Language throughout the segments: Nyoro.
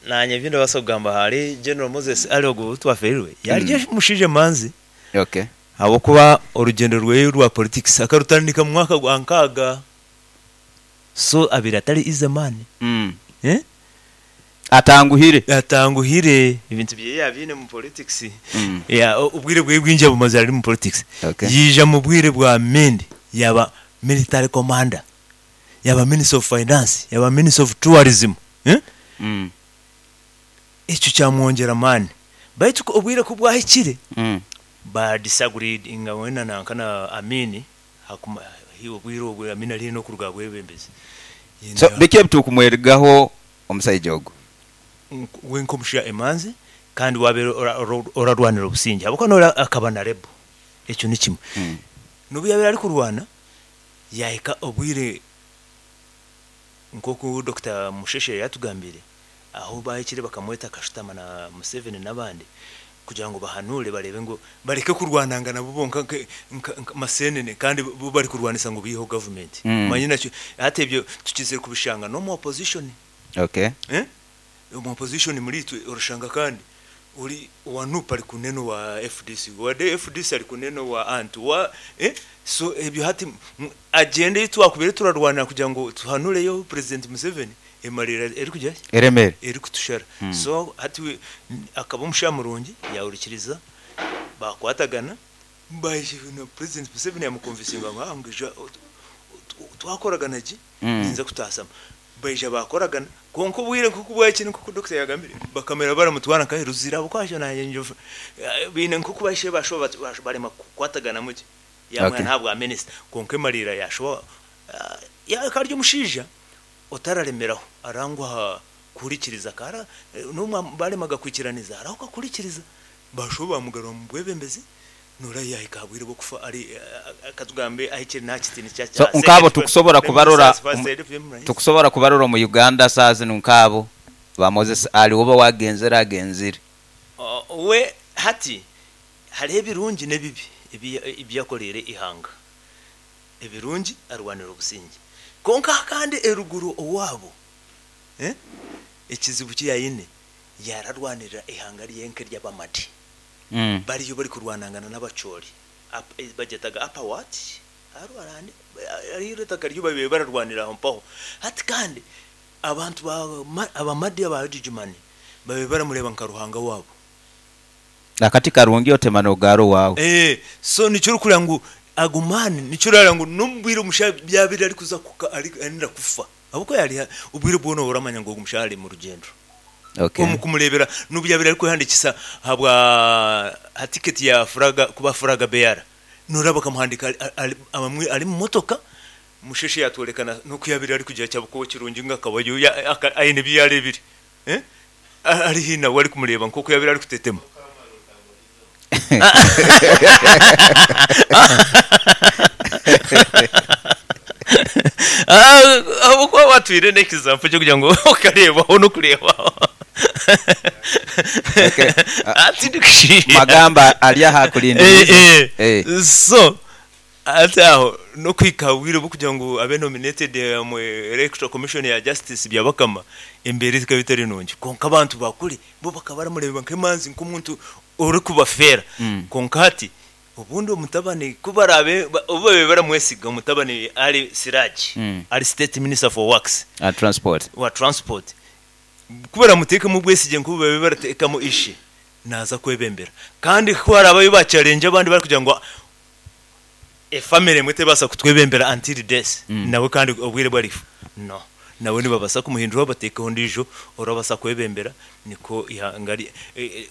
Naanye ebi ndabaasa kugamba ahari General Moses Ali ogu ou twaferirwe, yaarya omushaija emanzi ahabw'okuba orugyendo rweye rwa politics akarutandika mu mwaka gwa nkaaga so abaire atari easy man. Atanguhire. Atanguhire, ebintu byeye yaabiine omu politics, obwire bweye bwingi abumazire ari omu politics. Yaija omu bwire bwa Amin yaaba military commander. Yaba minister of finance, yaba minister of tourism, ekyo kyamwongyera amaani. Baitu obwire ku bwahikire, ba disagreeinga we na nanka na Amin, obwire obwo Amin ari haihi n'okuruga aha bwebembezi. So biki ebitukumwerigaho omusaija ogu? We nk'omushaija emanzi kandi wabeire orarwanira obusingye ahabw'okuba noreeba akaba na rebel, ekyo ni kimwe. N'obu yabaire arikurwana, Yaahika obwire nk'oku Dokita Musheshe yaatugambire, ahu baahikire bakamweta akashutama na Museveni n'abandi kugira ngu bahanuure bareebe ngu bareke kurwanangana bo bonka nka maseenene kandi bo barikurwanisa ngu baiheho gavumenti. Omanye nakyo hati ebyo tukizire kubishanga n'omu opposition. Omu opposition muri itwe orashanga kandi ori owa nup ari kunena owa FDC, owa FDC ari kunena owa ant, owa so ebyo hati agenda eyi twakubaire turarwanira kugira ngu tuhanureyo president Museveni emariira erikugira ki? Eremere. Erikutushara. So hati akaba omushaija murungi yahurikiriza bakwatagana na president Museveni yamukonvinsinga ngu ngu ija twakoragana gye ninza kutasamu. Baija baakoragana, kwonka obwire nk'oku bwahikire nk'oku dokita yaagambire, bakamara baramutwara nkahe Ruzira ahabw'okuba hakyo naanye nyowe baine nk'oku bahikire baashuba barema kukwataganamu gye, yaamwiha n'aha bwa minisita. Kwonka emariira yaashuba akaba ari omushaija otararemeraho, aranguha kuhurikiriza, n'obu baaremaga kwikiraniza arahuka kuhurikiriza. Baashuba baamugarura omu bwebembezi, Noora yaahika aha bwire bw'okufa ari, ka tugambe ahikire n'aha kitiinisa kya So nk'abo tukusobora kubarora tukusobora kubarora omu Uganda saaha zinu nk'abo ba Moses Ali oba wagenzere agenzire. We hati hariho ebirungi n'ebibi ebi yakoreire eihanga. Ebirungi arwanire obusingye. Kwonka kandi eruguru owaabo ekizibu ki yaine yaararwanirira eihanga ryenka ery'Abamadi. Bariyo barikurwanangana n'Abacholi, bagyetaga Upper what? Hariho eitaka ryo babaire bararwanira aho mpaho. Hati kandi abantu ba Abamadi aba Jujumani babaire baramureeba nka ruhanga waabo. Akati karungi otema n'ogaara owaawe. So nikyo orikureeba ngu ago maani, nikyo orareeba ngu n'omu bwire omushaija yaabaire arikuza arenda kufa, ahabw'okuba yaariha obwire bwona oramanya ngu ogu mushaija ari mu rugyendo. Omu kumureebera n'obu yaabaire arikwehandiikisa ahabwa aha tiketi ya furaga kuba furaga bearer, nooreeba bakamuhandiika ari omu motoka, Musheshe yaatworeka n'oku yaabaire arikugira ati ahabw'okuba kirungi ngu akaba aine ebi yaareebire ari haihi nawe arikumureeba nk'oku yaabaire arikutetema. Ahabw'okuba waatwire n'example ky'okugira ngu okareebaho n'okureebaho. Okay. Tindikushiisha. Magamba ari aha akulindiriize. Eh, eh. So, hati aho n'okuhika aha bwire bw'okugira ngu abe nominated omu Electoral Commission ya Justice Byabakama, embeera ekaba etari nungi. Kwonka abantu ba kuri bo bakaba baramureeba nk'emanzi, nk'omuntu orikubafeera. Kwonka hati obundi omutabani ku baraabe obu babaire baramwesiga omutabani Ali Siraji ari State Minister for Works, Transport. wa Transport, ku baramuteekemu obwesigye nk'obu babaire barateekamu ishe, naaza kwebembera. Kandi ku haraabe abu baakyarenja abandi barikugira ngu efamire emwe tebaasa kutwebembera until death, nawe kandi obwire obu arifa, no. Nawe nibabaasa kumuhinduraho bateekeho ondiijo orabaasa kwebembera nikwo eihanga rye,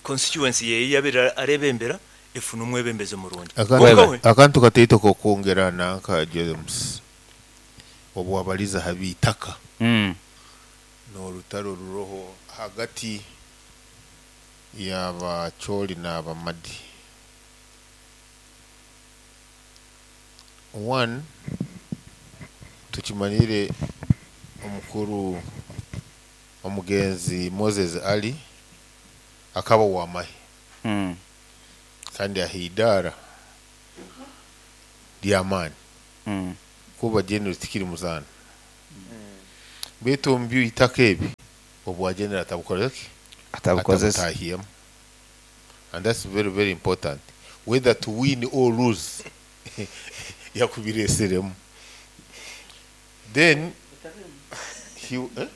constituency ye ei yaabaire areebembera efune omwebembezi murungi. Kwonka we. Akantu kataito k'okwongera nanka James, obu wabaliza ha by'itaka n'orutaro oruroho hagati y'Abacholi n'Abamadi. One, tukimanyire omukuru omugenzi Moses Ali akaba w'amahe kandi aha idaara ly'amaani kuba General tikiri muzaano. Baitu omu by'itaka ebi, Obwa general atabukoreki, Atabukozesa. Atabutahiyemu, and that's very very important, whether to win or lose, yakubireseremu. Then he, eh?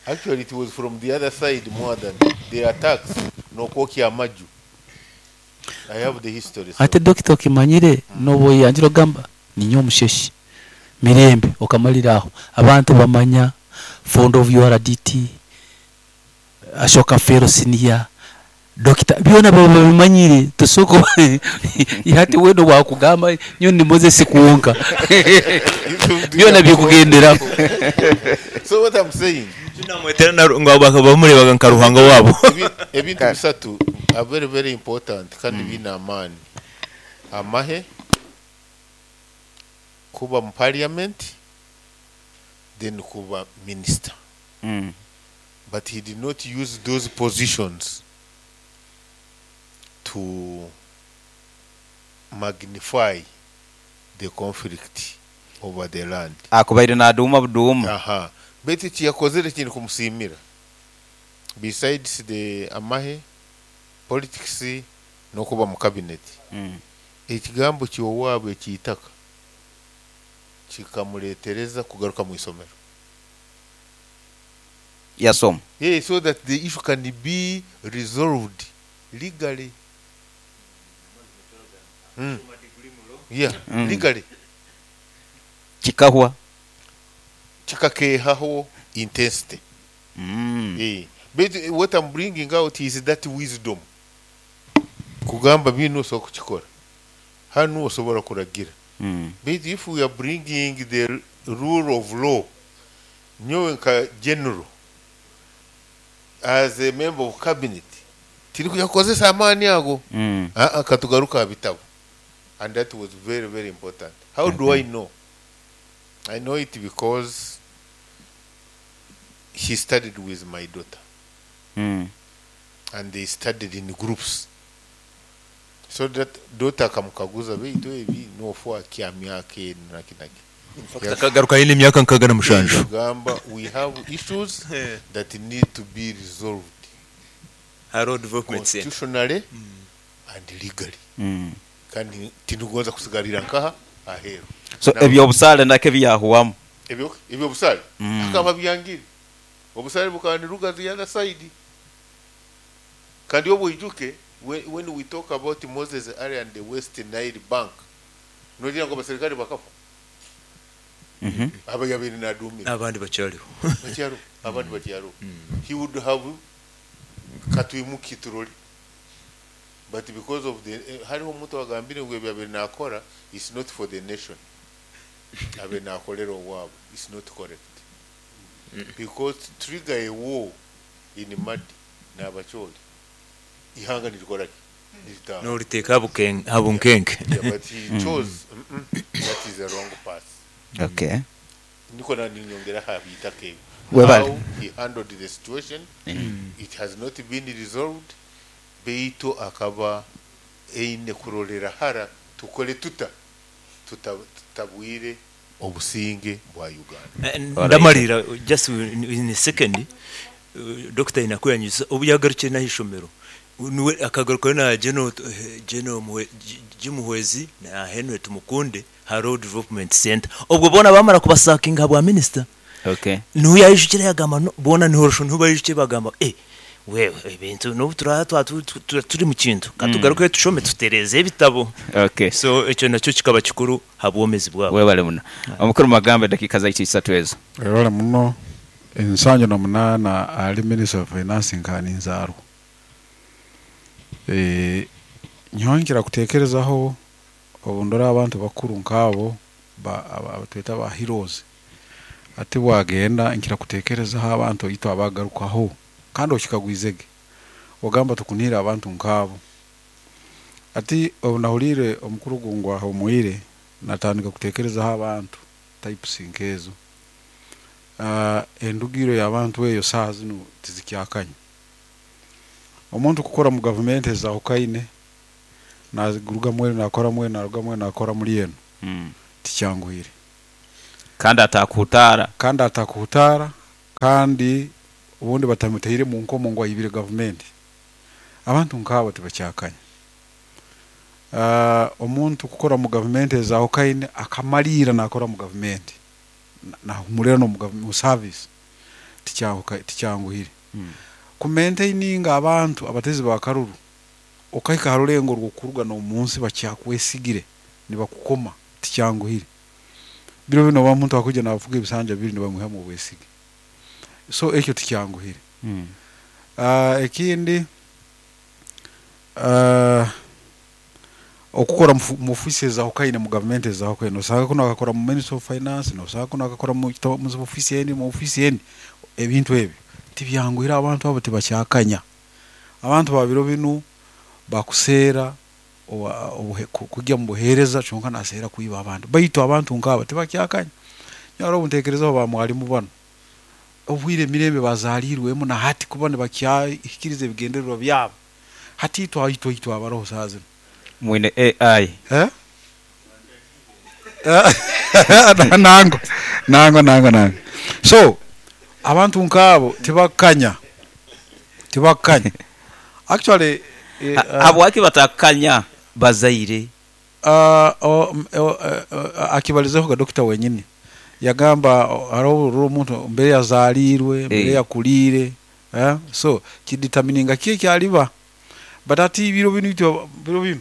Actually it was from the other side more than the attacks nokwokya amaju. I have the history, so. Ate dokita, okimanyire noba oyangira ogamba ninye omusheshi mirembe, okamalira aho abantu bamanya founder of URDT, Ashoka Fellow Senior Dokita, byona baba babimanyire. Tosoko hati weno wakugamba nyo ni Moses kuwonka, byona bikugenderaho. So what I'm saying, Namwetera ngo bamurebaga nka ruhanga wabo. Ebintu bisatu are very very important kandi biine amaani: amahe, kuba mu parliament, then kuba minister. But he did not use those positions to magnify the conflict over the land. Akubaire naduma buduma. Aha, baitu ekiyakozere kindi kumusiimira, besides the amahe, politics n'okuba mu cabinet, ekigambo kyowaabwe ekiitaka kikamuletereza kugaruka mu isomero. Yasoma. Yeah, so that the issue can be resolved legally. Yeah, legally. Kikahwa. Kikakehaho intensity. Eh, but what I'm bringing out is that wisdom kugamba bino osobola kukikora, hanu osobola kuragira. But if we are bringing the rule of law, nyowe nka general, as a member of cabinet, tiri kuja kukozesa amaani ago. Ah, ah, katugaruka aha bitabo, and that was very very important. How do I know? I know it because he studied with my daughter and they studied in groups, so that daughter akamukaguza, beitu ebi nofa kya myaka enu nakinaki. Akagaruka yine emyaka 67. Gamba we have issues that need to be resolved Haro Development Center. constitutionally and legally, kandi tindugonza kusigarira nkaha aheru. So ebyobusaale nako ebyahuwamu. Ebyo obusaale akaba byangire, obusaale bukaba niruga the other side. Kandi obwijuke, when we talk about Moses Ali and the West Nile Bank, nogira ngo abaserikale bakafa? Aba yabere nadumira. Abandi bakyaliho. Bakyaro, abandi bakyaro. He would have katwimuki turoli, but because of the hariho omuntu wagambire ngu ebyo abere nakora is not for the nation, abe nakolera owaabo, is not correct, because trigger a war in Madi n'Abacholi, ihanga nirikoraki? Niritaha. Noliteeka habunkenke. Yeah, but he chose, that is the wrong path. Niko na ninyongera habitaka ebyo. Webale. How he handled the situation, it has not been resolved, beitu akaba eine kurolera hara tukole tuta tutabwire obusinge bwa Uganda. Ndamalira just in a second. Dr. Inakuyanyuza obu yagarukire naho ishomero, niwe akagarukayo na General Jim Muhwezi na Henry Tumukunde Haro Development Center, obwo bona bamara kubasakinga bwa minister. Niho yayijukire yagamba no, bona nihorosho niho bayijukire bagamba, wewe ebintu n'ubu turaba turi mu kintu, katugaruke tushome tutereze ebitabo. So ekyo nakyo kikaba kikuru ha bwomezi bwabo. Webale muno omukuru magambo, eddakiika zaitu isatu ezo. Webale muno. 78 ali minister of finance nkaninzaarwa. Nyowe kutekerezaho obu ndora abantu bakuru nk'abo abatweta ba heroes, ati bwagenda nkira kutekerezaho abantu oitu abagarukaho, kandi okikagwizege ogamba tukunira abantu nk'abo. Ati obu nahulire omukuru gungwa ahumwire, natandika kutekerezaho abantu types nkezo. Endugiro y'abantu eyo saaha zinu tizikyakanya. Omuntu kukora mu gavumenti ezahukaine, naguruga mwenu nakora mwenu, naruga mwenu nakora muri eno, tikyanguhire. Kandi atakuhutaara. Kandi atakuhutaara. Kandi obundi batamutaire mu nkomo ngu aibire gavumenti. Abantu nk'abo tibakyakanya. Omuntu kukora mu gavumenti ezahukaine akamaliira nakora mu gavumenti, nahumulira n'omu service, tikyanguhire. Kumaintaininga abantu abatezi ba karuru, okahika ha rulengo rw'okuruga n'omunsi bakyakwesigire nibakukoma, tikyanguhire. Biro binu oba omuntu akwija navuga ebisanja bibiri nibamwihamu obwesige. So ekyo tikyanguhire. Ekindi, okukora mu ofiisi ezahukaine mu gavumenti ezahukaine, nosanga kunu akakora mu Ministry of Finance, nosanga kunu akakora mu ofiisi endi, mu ofiisi endi, ebintu ebyo tibyanguhire, abantu abo tibakyakanya. Abantu ba biro binu bakuseera kujya mu buheereza kyonka naseera kwiba abantu, baitu abantu nk'abo tibakyakanya. Nyowe haroho obu ntekerezaho ba mwalimu banu, obwire emirembe bazaalirwemu na hati kuba nibakyahikiriza ebigendererwa byabo, hati itwe itwe abaroho saaha zinu. Mwine AI. Eh? Nangwa, nangwa, nangwa, nangwa. So, abantu nk'abo tibakanya, tibakanya. Actually, Habwaki batakanya bazaire? Akibalizeho ga dokita wenyini, yagamba haroho orora omuntu mbere yazaalirwe, mbere yakuliire, so kidetermininga ki ekyaliba. But hati biro binu itwe, biro binu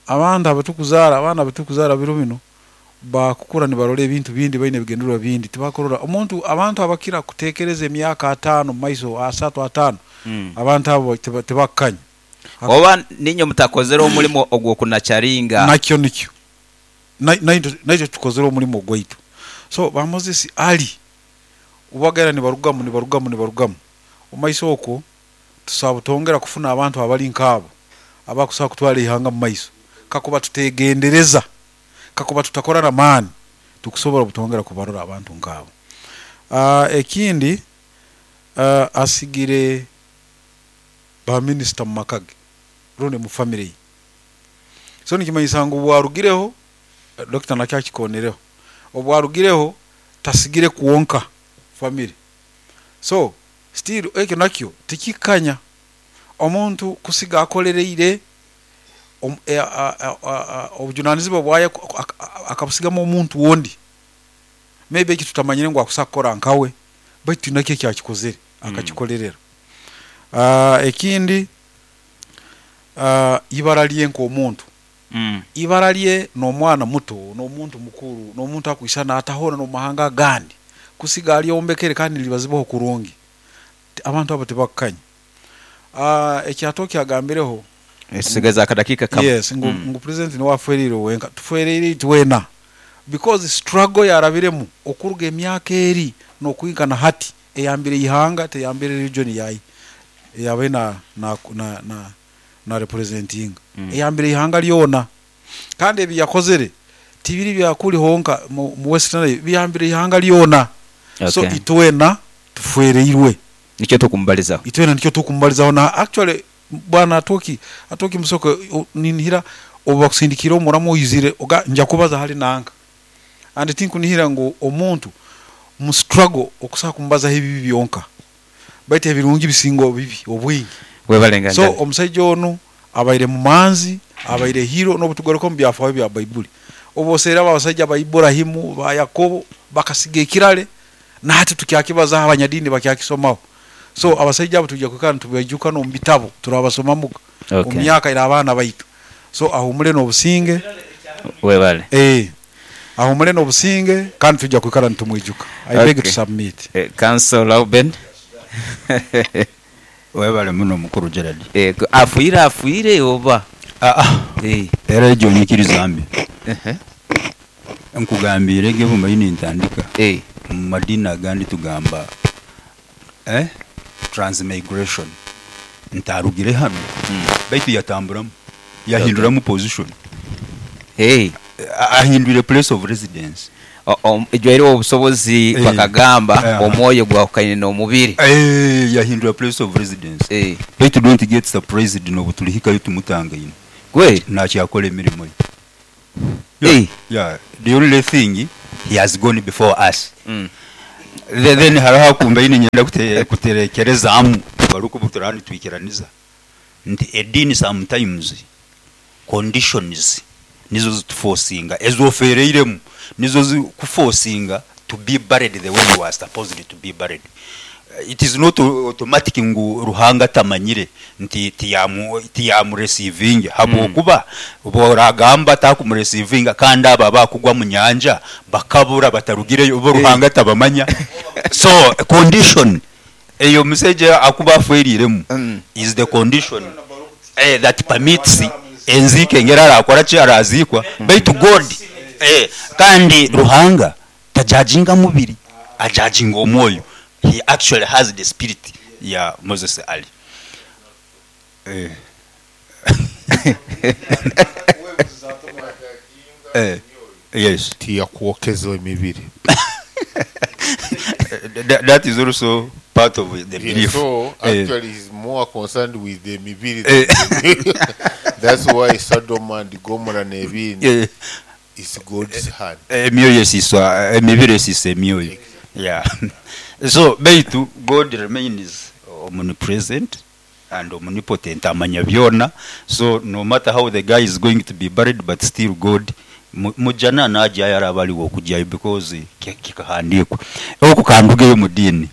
abantu abatukuzaara, abaana abatukuzaara biro binu bakukura nibarora ebintu bindi, baine ebigendererwa bindi, tibakurora omuntu. Abantu abakira kutekereza emyaka 5 mu maiso, 3, 5, abantu abo tibakukanya. Oba niinywe mutakozere omulimo ogw'okunacaringa. Nakyo nikyo naitwe tukozere omulimo gwaitu. So ba Moses Ali obubagenda nibarugamu, nibarugamu, nibarugamu omu maiso okwo, tusobola butongera kufuna abantu abali nk'abo abakusobola kutwara eihanga mu maiso. Kakuba tutegendereza, kakuba tutakora n'amaani, tukusobola butongera kubarora abantu nk'abo. Ekindi, asigire ba minisita mu maka ge rundi mu famire ye. So nikimanyisa ngu obwarugireho, dokita nakyo akikonereho, obwarugireho tasigire kwonka famire. So still ekyo nakyo tikikanya omuntu kusiga akolereire obujunanizibwa bwaye akabusigamu omuntu ondi. Maybe eki tutamanyire ngu akusobola kukora nkawe, baitu nakyo eki akikozere akakikolerera. Ekindi, ibara lye nk'omuntu, ibara lye n'omwana muto, n'omuntu mukuru, n'omuntu akwisana atahona n'omu mahanga agandi, kusiga alyombekere kandi niribazibaho kurungi. Abantu abo tibakukanya. Ekyatoki agambireho, Esigaza akadakiika kamu. Yes, ngu president niwe afwereire wenka, tufwereire itwena, because struggle yarabiremu okuruga emyaka eri n'okuhika na hati eyambire ihanga, teyambire region yayi eyabaire na representinga, eyambire ihanga lyona. Kandi ebi yakozere tibiri byakuli honka mu Western Nile, biyambire ihanga lyona. So itwena tufwereirwe. Nikyo tukumubalizaho. Itwena nikyo tukumubalizaho. Na actually bwana Atoki Musoke, ninihira obu bakusindikire omuramu oizire oga nja kubaza hali nanka, and tinkunihira ngu omuntu mu struggle okusobola kumubazaho ebibi byonka, baitu ebirungi bisinga obibi obwingi. Webale. So omusaija onu abaire mumanzi, abaire hero. N'obutugaruka omu byafaayo bya Baibuli, obu oseera abo abasajja ba Iburahimu, ba Yakobo, bakasiga ekirale nahati tukyakibazaho, abanyadiini bakyakisomaho. So abasaija abo tujja kwikara nitubaijuka, n'omu bitabo turabasomamuga omu myaka ira abaana baitu. So ahumule n'obusinge. Webale. Ahumule n'obusinge, kandi tujja kwikara nitumwijuka. I beg to submit. Counsel Lauben. Webale muno mukuru Gerald. Afwire afwire oba? Aa, era egyo nyikiriza mbi. Nkugambiire ge bumbaire nintandika, mu madiini agandi tugamba transmigration, nti arugire hanu baitu yatamburamu, yahinduramu position, ahindwire place of residence. Ejwaireho obusobozi bakagamba omwoyo gwahukaine n'omubiri. Yahindura place of residence. Baitu don't get surprised n'obu tulihikayo tumutangaine. Kweli? Nakyakora emirimo ye. Yeah, the only thing, he has gone before us. Then hariho akumbaine nyenda kuterekerezaamu barikuba turaba nitwikiraniza nti ediini sometimes conditions nizo zituforcinga ezofereiremu, nizo zikuforcinga to be buried the way you are supposed to be buried. It is not automatic ngu Ruhanga tamanyire nti tiyamureceivinga, habwokuba boragamba takumureceivinga kandi aba bakugwa mu nyanja bakabura batarugireyo, bo Ruhanga tabamanya. So condition eyo musajja akuba aferiremu is the condition that permits enzike ngera arakora ki arazikwa, baitu God kandi Ruhanga tajajinga mubiri, ajajinga omwoyo. He actually has the spirit ya Moses Ali. Yes. Tiyakuokeza emibiri. That is also part of the belief. So actually he's more concerned with the mibiri. That's why Sodom and Gomorrah nebindi is God's hand. Emyoyo esiswa, emibiri esisa emyoyo. Yeah. So baitu God remains omnipresent and omnipotent, amanya byona. So no matter how the guy is going to be buried, but still God mujana najya yarabaliwo okujyayo because kikahandikwa. Okukandugeyo mu dini.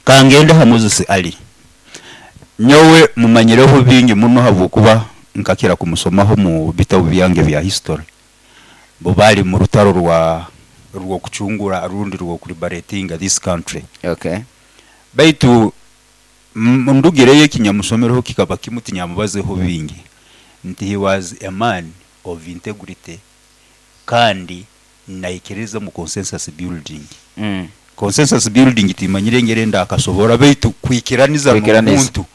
Kangenda ha Moses Ali. Nyowe mumanyireho bingi muno habwokuba nkakira kumusomaho mu bitabo byange bya history. Bo bali mu rutaro rwa rwokuchungura rundi rwokuliberatinga this country. Okay. Baitu ndugireyo ekinyamusomereho kikaba kimuti nyamubazeho bingi nti he was a man of integrity kandi naikiriza mu consensus building. Consensus building timanyire ngere ndakasobora baitu kwikiraniza n'omuntu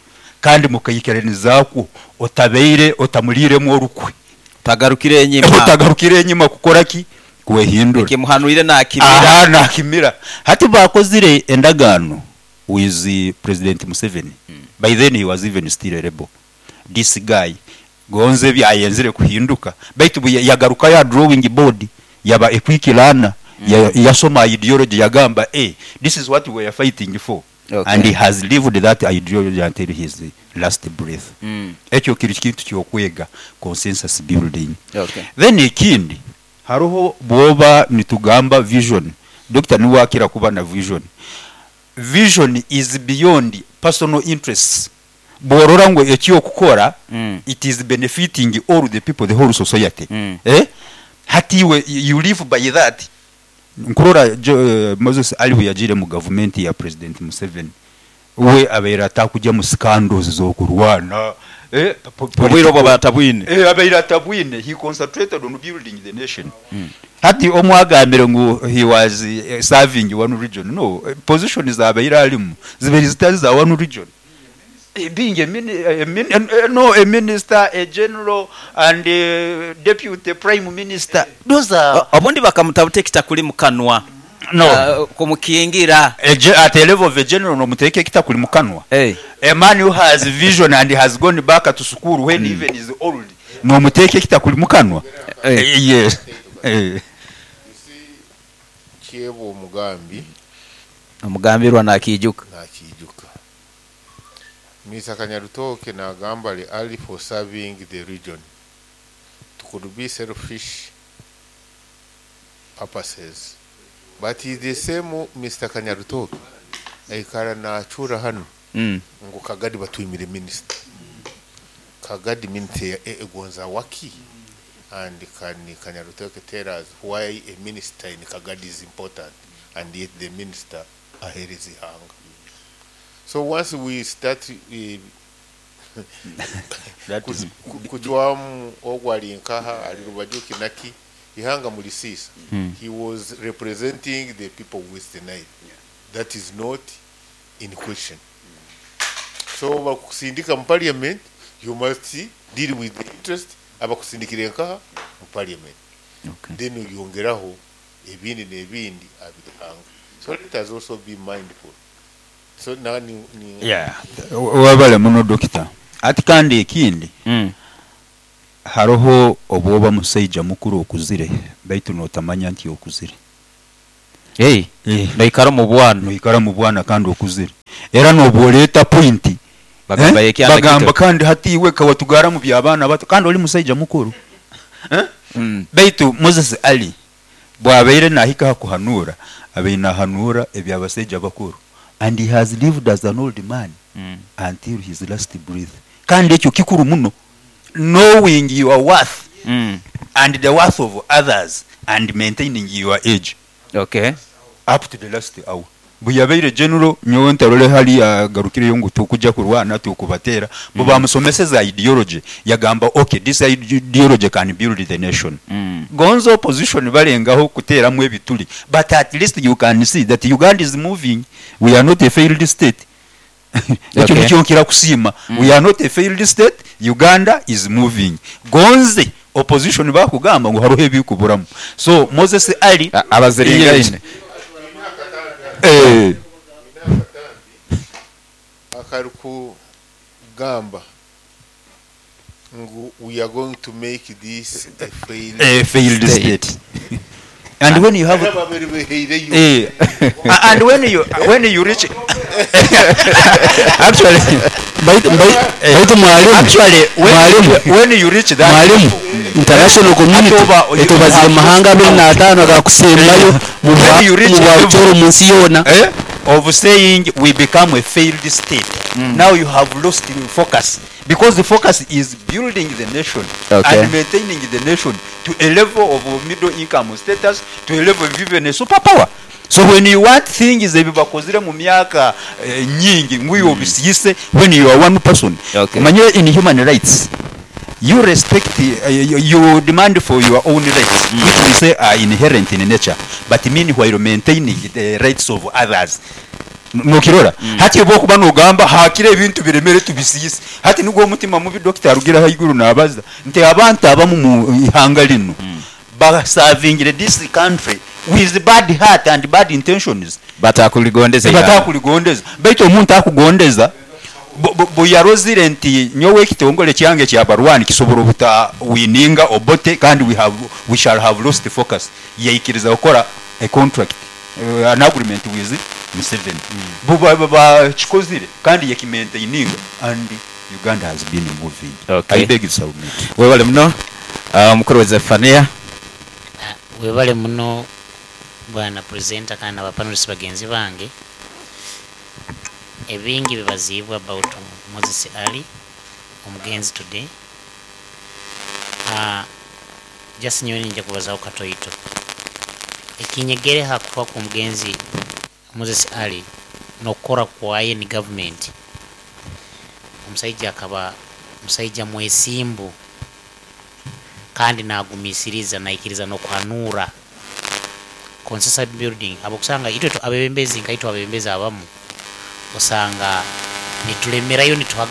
kandi mukayikiranizako otabeire otamuliremu orukwe tagarukire enyima, otagarukire enyima kukora ki kwehindura kimuhanuire nakimira. Aha nakimira. Hati bakozire endagano with President Museveni. By then he was even still a rebel. This guy gonze byayenzire kuhinduka baitu yagaruka ya drawing board yaba ekwikirana yasoma ideology yagamba this is what we are fighting for. Okay. And he has lived that ideology until his last breath. Ekyo kiri kintu kyokwega consensus building. Okay. Then ikindi haruho bwoba nitugamba vision. Dr. niwakira kuba na vision. Vision is beyond personal interests. Borora ngo ekyo kukora it is benefiting all the people, the whole society. Hatiwe you live by that. Nkurora Moses Ali yajire mu government ya President Museveni. We abeera atakujja mu scandals zokurwana. Obwiro bwa batabwine. Abeera atabwine. He concentrated on building the nation. Hati omwagambire ngu he was serving one region. No, position zabeera alimu zibiri zitali za one region. Being a minister, a general and a deputy prime minister. Those are obundi bakamutabuta ekitakuli mukanwa. No. Kumukingira. At the level of a general no muteke ekitakuli mukanwa. A man who has vision and has gone back to school when even is old. No muteke ekitakuli mukanwa. Yes. You see, Kiebo Mugambi. Omugambirwa nakijuka. Nakijuka. Mr. Kanyarutoke nagamba ali early for serving the region. It could be selfish purposes. But he's the same Mr. Kanyarutoke. Aikara nachura hano. Ngo Kagadi batwimire minister. Kagadi minister egonza waki. And can Kanyarutoke tell us why a minister in Kagadi is important and yet the minister ahereza ihanga. So once we start kujwamu ogwali nkaha ali rubajuki naki ihanga mulisisa. He was representing the people of West Nile. Yeah. That is not in question. So bakusindika mu parliament, you must deal with the interest abakusindikire nkaha mu parliament. Okay. Then yongeraho ebindi nebindi abihanga. So let us also be mindful. So now ni yeah. Wabale muno doctor. Ati kandi ekindi haroho obwoba musaija mukuru okuzire baitu notamanya nti okuzire. Hey, noikara omu bwana. Noikara mu bwana kandi okuzire era nobwoleeta point. Bagamba ekyana Bagamba kito. Kandi hati iwe kawatugara mu by'abaana bato kandi oli musaija mukuru. Eh? Baitu Moses Ali bwabaire nahika ha kuhanura, abaire nahanura ebyabasaija bakuru, and he has lived as an old man until his last breath. Kandi ekyo kikuru muno, knowing your worth and the worth of others and maintaining your age up to the last hour. Bwe yabaire general, nyowe ntarole hali yagarukireyo ngu tukujja kurwana tukubateera. Bo bamusomeseza ideology, yagamba, "Okay, this ideology can build the nation." Gonza opposition balengaho kuteeramu ebituli, but at least you can see that Uganda is moving. We are not a failed state. Ekyo nikyo nkira kusiima. We are not a failed state. Uganda is moving. Gonze opposition bakugamba ngu haruho ebikuburamu. So Moses Ali Abaziringaine. Akari kugamba ngu we are going to make this a failed A failed state. State. And when you have babiri beheireyo. And when you reach actually Baitu mwalimu, actually when, Mwalimu. when you reach that Mwalimu, international community Ate etubazire mahanga 25 agakusembayo mu When you reach bwa mu nsi yoona. Of saying we become a failed state, now you have lost the focus, because the focus is building the nation and maintaining the nation to a level of middle income status, to a level of even a superpower. So when you want things ebibakozire mu myaka nyingi ngwiyo obisiyise when you are one person. Manye in human rights you respect, you demand for your own rights, which we say are inherent in nature, but meanwhile maintaining the rights of others. Nokirora hati oba okuba nogamba hakira ebintu biremere tubisiise, hati nigwo omutima mubi. Dokita arugira haiguru nabaza nti abantu abamu mu ihanga lino basavingire this country with bad heart and bad intentions. Batakuligondeza ihanga. Batakuligondeza. Baitu omuntu akugondeza bwe yarozire nti nyowe ekitongole kyange kyabarwani kisobola obuta wininga obote kandi we shall have lost focus, yaikiriza gukora a contract, an agreement with Museveni. Bo bakikozire kandi yakimaintaininga and Uganda has been moving. I beg you submit. Webale muno. Omukuru wa Zefania. Webale muno bwana presenter kandi abapanelists bagenzi bange. Ebingi bibaziibwa about Moses Ali omugenzi today. Just nyowe ninja kubazaho katoito ekinyegere hakufa ku mugenzi Moses Ali n'okukora kwaye ni government. Omusaija akaba musaija mwesimbu kandi nagumisiriza, naikiriza n'okuhanura consensus building. Abokusanga itwe abebembezi nka itwe abebembezi abamu osanga nitulemerayo nituha,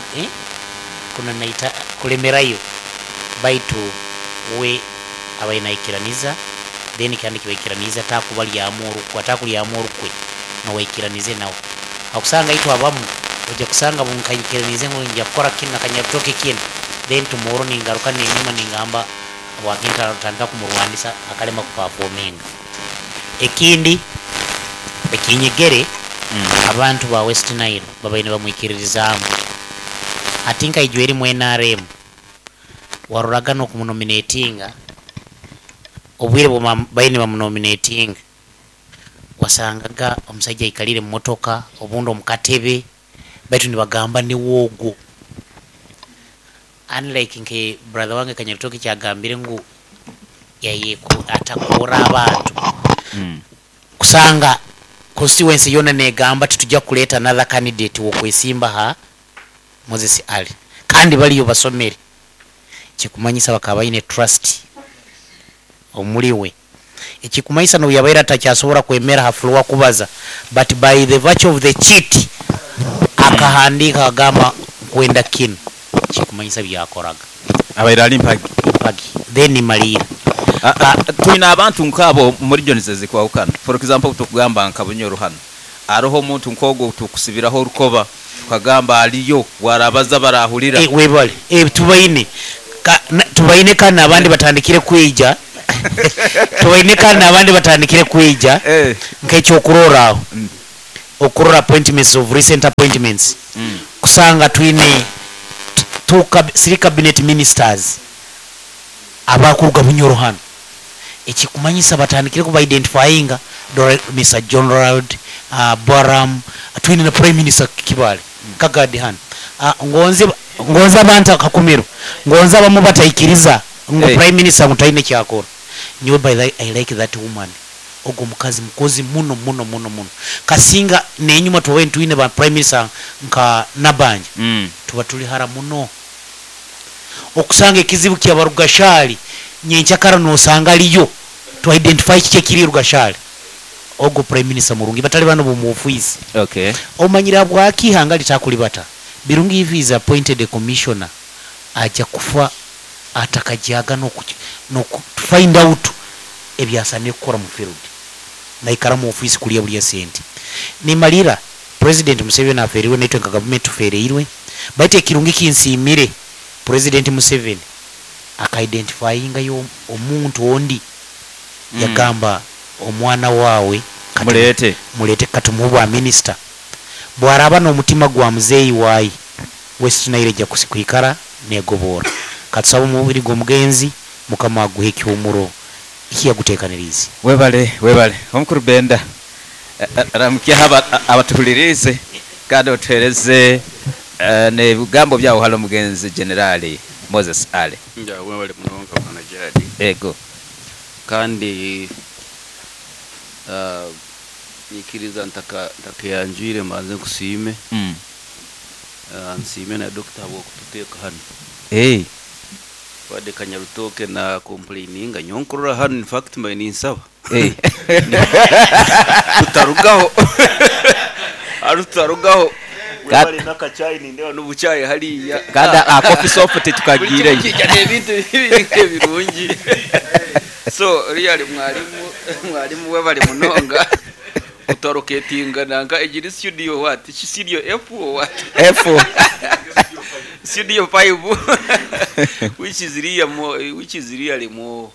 kuna naita kulemerayo, baitu we abainaikiraniza then kandi kibaikiraniza takubalyamu orukwe, atakulyamu orukwe nowaikiranize nawe. Akusanga itwe abamu ojja kusanga bunkaikiranize ngu nja kukora kinu nakanyabitoke kinu, then tomorrow ningaruka nenyuma ningamba wakinta tandika kumurwanisa akalema kuperforminga. Ekindi ekinyegere, abantu ba West Nile babaine bamwikiririzaamu. Ati nkaijwa erimu NRM waroraga n'okumunominatinga obwire bwe baine bamunominatinga, wasangaga omusajja aikalire mu motoka obundi omukatebe, baitu nibagamba niwoogwo, unlike nke brother wange Kanyabitoke kyagambire ngu yaye atakuura abantu. Kusanga constituency yona negamba titujja kuleeta another candidate wokwesimba ha Moses Ali, kandi baliyo basomere, kikumanyisa bakaba baine trust omuliwe. Ekikumanyisa no yabaire atakyasobola kwemera ha floor kubaza, but by the virtue of the cheat akahandika agamba kwenda kino, kikumanyisa byakoraga. Abaire ali mpagi. Mpagi. Then malira. Twina abantu nkabo muri regions ezikwahukana. For example, tukugamba nka Bunyoro hano aroho omuntu nkogwo tukusibiraho orukoba tukagamba aliyo warabaza barahurira. Webale. Tubaine tubaine kandi abandi batandikire kwija. Tubaine kandi n'abandi batandikire kwija nk'ekyokurorraho okurora appointments of recent appointments kusanga twine three cabinet ministers abakuruga Bunyoro hanu, ekikumanyisa batandikire kuba identifyinga Mr. John Ronald Boram, twine na Prime Minister Kibale Kagadi hanu. Ngonze ngonze abantu akakumiro ngonze abamu bataikiriza ngu Hey. Prime Minister ngu taine kyakora. Nyowe by the I like that woman, ogwo mukazi mukozi muno muno muno muno, kasinga nenyuma tubawe twine ba Prime Minister nka Nabanja tuba tuli hara muno okusanga ekizibu kya Barugashali nyenchakara nosanga aliyo to identify kiki ekiri Rugashali. Ogwo Prime Minister murungi batali bano bomu office. Omanyira bwaki ihanga litakulibata Birungi if is appointed a commissioner aja kufa atakajaga no to find out ebyasane kukora mu field naikara mu office kulya bulya sente. Nimalira President Museveni aferiwe naitwe nka government tufereirwe, baite ekirungi kinsimire President Museveni akaidentifyinga yo omuntu ondi yagamba omwana wawe mulete mulete katumuwa minister bwaraba n'omutima gwa muzeeyi wayi West Nile ejja kusikwikara negobora. Katusaba omubiri gw'omugenzi Mukama aguhe ekyomuro ekiyaguteekanirize. Webale webale omukuru Benda, ramukia abatuhulirize kandi otuhereze n'ebigambo byawo halo omugenzi Generali Moses Ale. Nja webale munonga bwana Gerard. Ego. Kandi nyikiriza ntakayanjwire mbanze nkusiime. Nsiime na dokita habw'okututeeka hano. Wadde Kanyarutoke na complaininga nyonkurora hano, in fact mbaye ninsaba. Tutarugaho. Ari tutarugaho. Webale n'akacayi nindeba n'obucayi hariya. Kandi akofi soft tukagireyo. Buri kimwe ebintu birungi. So really mwalimu webale munonga. Utaroketinga nanga ejiri studio what? Studio F or what? F. Studio 5. Which is really more, which is really more.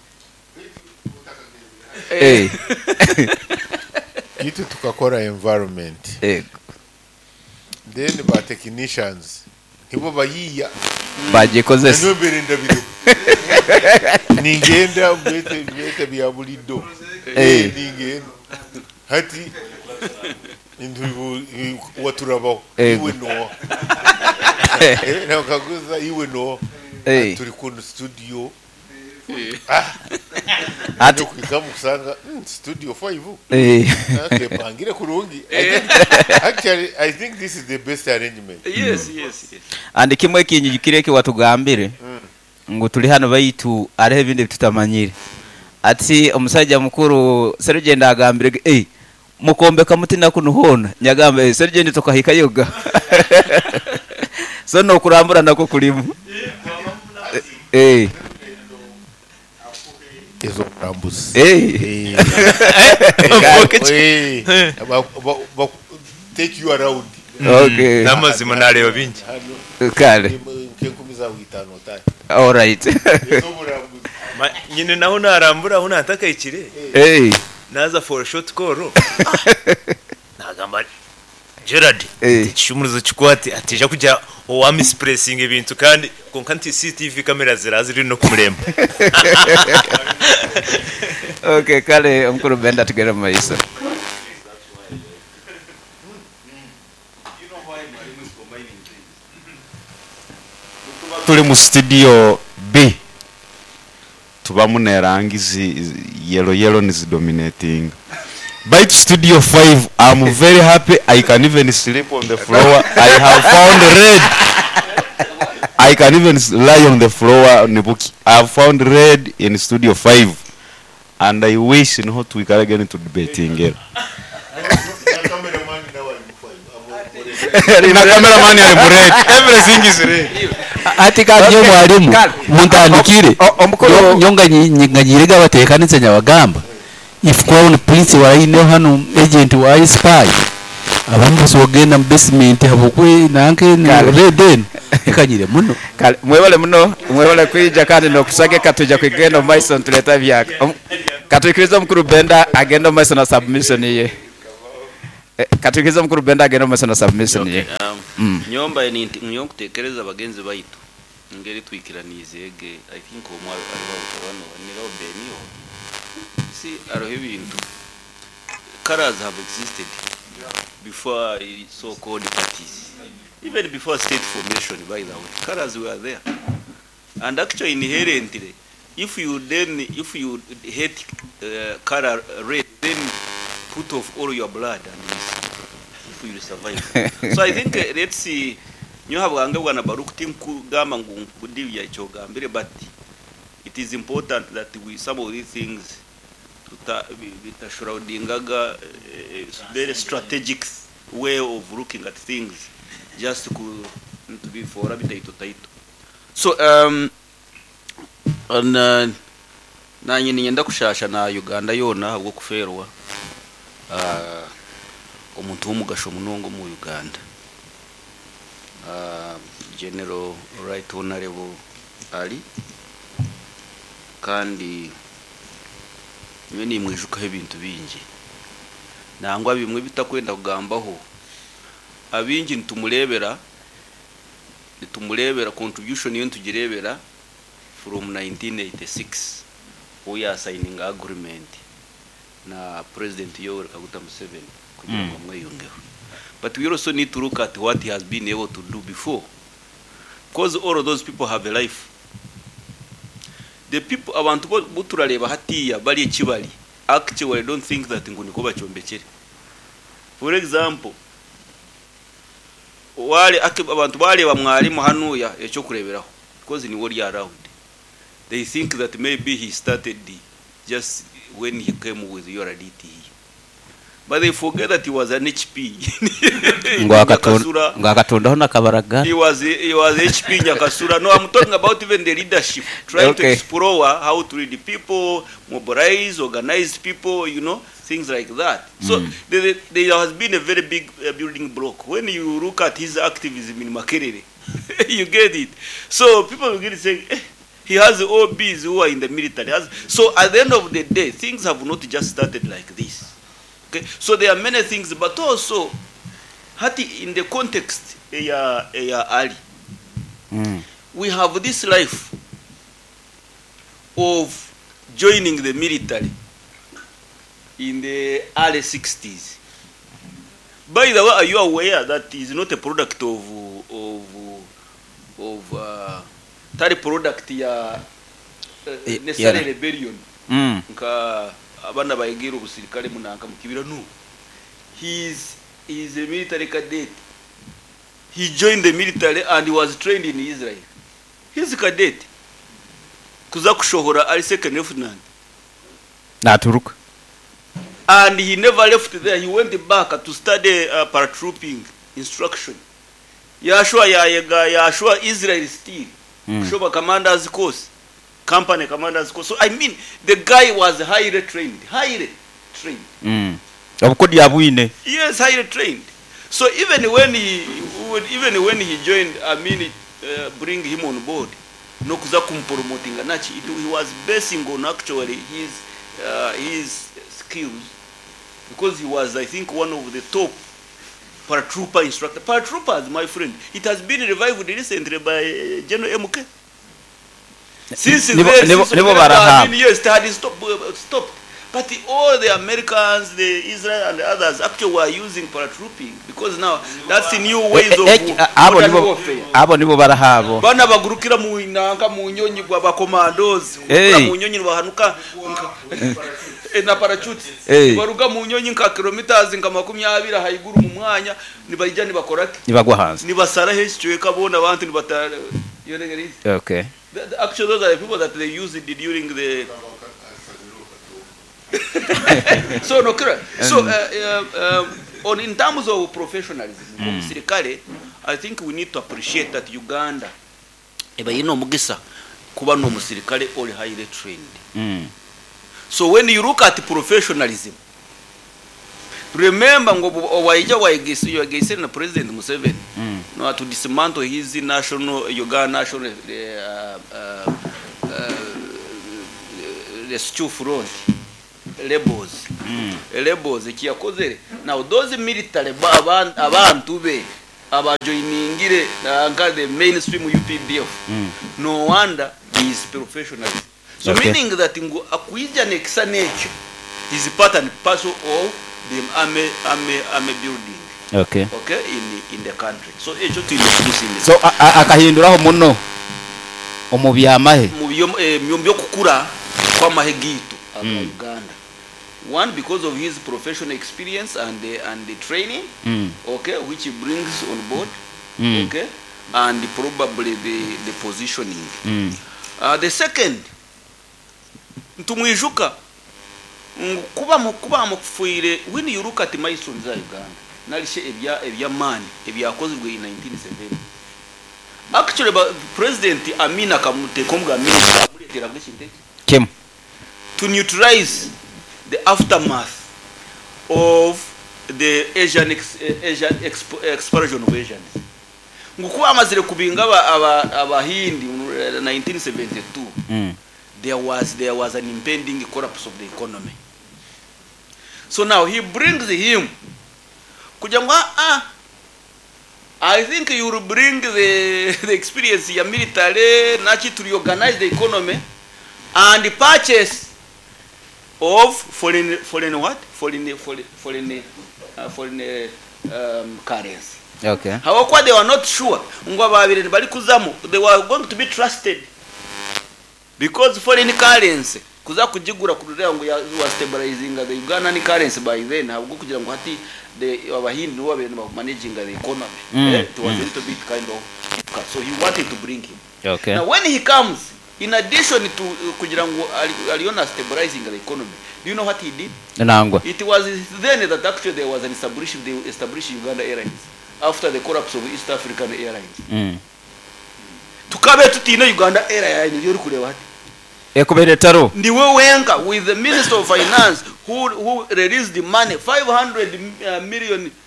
Itu tukakora environment. Then ba technicians nibo bayiya bagikozesa. Nibo berenda biro. Ningenda bete bya bulido. Ningenda. Hati indu waturabaho iwe no. Na kaguza iwe no. Turi ku studio. Ati kukamusanga studio 5. Pangire kurungi. Actually I think this is the best arrangement. Yes, yes, yes. And kimwe kinyijukire watugambire ngo tuli hano baitu arehe bindi tutamanyire. Ati omusajja mukuru Serugenda agambire mukombe kamutina kunuhona nyagambe Serugenda tukahika yoga. So no kurambura nako kulimu. Ezo kurambuzi. Take you around. Okay. Namazima nareba bingi. Kale. Nkenkumiza witano tayi. All right. Nyine naho narambura aho natakaikire. Naza for a short call. Nagamba Gerard ekishumuruzo kikwate atija kujya owa mispressing ebintu kandi konka nti CCTV kamera ziraziri no kumuremba. Okay, kale omukuru Benda tugere mu maiso. Tuli mu studio B tubamu nerangi zi yellow yellow ni dominating. By studio 5 I'm very happy. I can even sleep on the floor. I have found red. I can even lie on the floor nibuki. I have found red in studio 5 and I wish no we can get into debating here. Na cameraman ari mu red. Everything is red. Ati kabyo mwalimu muntandikire nyonga nyirega batekanitse nyabagamba. If crown prince waine hano agent wa spy abantu bose bagenda mu basement habukwe nanke red den. Tekanyire muno. Kale mwebale muno, mwebale kwija kandi nokusagika. Tuja kwigenda omu maiso nituleta ebyaka. Katwikirize omukuru Benda agende omu maiso na submission ye. Katwikirize omukuru Benda agende omu maiso na submission ye. Okay, nyomba nyo nkutekereza bagenzi baitu ngeri twikiranize ege. I think omwe ariho niraho Beniyo si aroho ebintu. Colors have existed before so called parties, even before state formation. By the way, colors were there, and actually inherently, if you hate color red, then put off all your blood and you see if you will survive. So I think let's see, nyoha bwange bwana Baruch, tinkugamba ngu nkudibya ekyogambire, but it is important that we some of these things tuta bitashroudingaga very strategic way of looking at things, just ku tubifora bitaito taito. So and, nanye ninyenda kushasha na Uganda yona habwo kuferwa omuntu w'omugasho munonga mu Uganda, General Right Honorable Ali. Kandi niwe nimwijukaho ebintu bingi, nangwa bimwe bitakwenda kugambaho. Abingi nitumurebera contribution yo, nitugirebera from 1986 we are signing agreement na President Yoweri Kaguta Museveni kugira ngo amweyungeho. But we also need to look at what he has been able to do before, because all of those people have a life. The people, abantu bo turareba hatiya bari ekibali, actually don't think that ngo niko bacombekere. For example, wale abantu bareba mwarimu hanuya ekyo kureberaho, because ni wori around, they think that maybe he started just when he came with URDT here, but they forget that he was an HP Ngo Nyakasura. Ngo akatundaho nakabaraga. He was HP Nyakasura. No, I'm talking about even the leadership, trying to explore how to lead the people, mobilize, organize people, things like that. So there has been a very big building block. When you look at his activism in Makerere, you get it. So people begin to say, he has OBs who are in the military. So at the end of the day, things have not just started like this. Okay? So there are many things, but also, hati in the context ya Ali, we have this life of joining the military in the early 60s. By the way, are you aware that is not a product of tari product ya necessary rebellion nka abana bayigira ubusirikare munanka mukibira? No, he is a military cadet. He joined the military and he was trained in Israel. He's a cadet kuza kushohora ari second lieutenant. Naturuka. And he never left there. He went back to study paratrooping instruction. Yashua yayega yashua Israel still kushoba commanders course, company commanders course. So I mean, the guy was highly trained, highly trained. Obukodi abwine. Yes, highly trained. So even when he joined, I mean, bring him on board, no kuza kumpromotinga nachi, he was basing on actually his skills, because he was, I think, one of the top paratrooper instructor. Paratroopers, my friend, it has been revived recently by General MK. Since then, Nibo since nibo barahaba. I mean, yes, it had stopped. But all the Americans, the Israel and the others actually were using paratrooping, because now that's the new ways of Abo modern nibo warfare. Abo nibo barahabo. Bana bagurukira mu nanka mu nyonyi gwa bakomandos Hey. mu nyonyi bahanuka na parachute. Baruga mu nyonyi nka kilometers nka 20 haiguru mu mwanya, nibayija nibakorake. Nibagwa hanze. Nibasara heshicweka bona abantu nibata. You know what it is? Okay. Actually, those are the people that they used it during the so no, correct. So on in terms of professionalism, omusirikale, I think we need to appreciate that Uganda eba yina omugisa kuba n'omusirikale oli highly trained. So when you look at professionalism, Remember ngo owaija wayigeisire na President Museveni no to dismantle his national Uganda National Rescue Front rebels. Rebels ekiyakozere. Now those military abantu be abajoiningire nka the mainstream UPDF. No wonder he is professional. So Okay. meaning that ngo akuija nekisa nekyo is part and parcel of the army building. Okay. Okay, in the country. So ekyo tuyina okumusindika. So akahinduraho muno omu byamahe. Mu byokukura kw'amahe gitu aga Uganda. One, because of his professional experience and the training, okay, which he brings on board, okay, and probably the positioning. The second, ntumwijuka kuba mufuire when you look at milestones za Uganda, nalishe ebyamaani ebyakozwe in 1970. Actually, President Amin akamuteeka omuga Amin amuleetera bw'ekintu Kim to neutralize the aftermath of the Asian expulsion of Asians. Ngukuba amazire kubinga abahindi mu 1972. There was an impending collapse of the economy. So now he brings him. Kugira ngo I think you will bring the experience ya military nachi to reorganize the economy and the purchase of foreign currency. Okay. However, they were not sure. Ngo babiri bali kuzamu, they were going to be trusted because foreign currency kuza kujigura kurira ngo was stabilizing the Ugandan currency by then. Ntabwo kugira ngo hati the abahindi nibo babiri managing the economy. It was a little bit kind of difficult. So he wanted to bring him. Okay. Now when he comes, in addition to kugira ngo aliona stabilizing the economy, do you know what he did? Nangwa. It was then that actually there was an they established Uganda Airlines after the collapse of East African Airlines. Tukabe tutine Uganda Airlines yori kureba hati. Ekubere taro. Ndiwe wenka with the Minister of Finance who released the money 500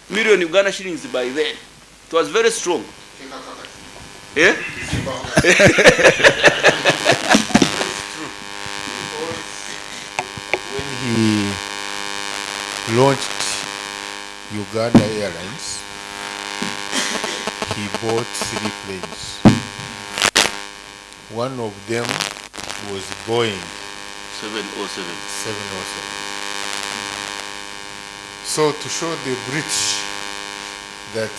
million Uganda shillings by then. It was very strong. Eh? When he launched Uganda Airlines, he bought 3 planes. One of them was Boeing 707. 707. So to show the British that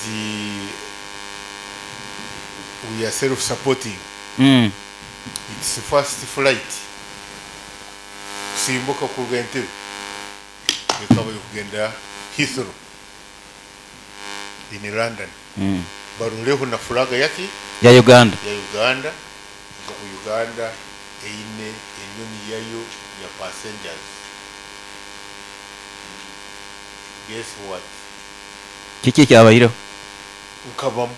we are self-supporting, it's the first flight. Kusimbuka kuruga Entebbe ekaba kugenda Heathrow in London. Baruleho na fulaga yaki ya Uganda. Ya Uganda. Ku Uganda eine enyonyi yayo ya passengers. Guess what? Kiki kyabairo? Nkabamu.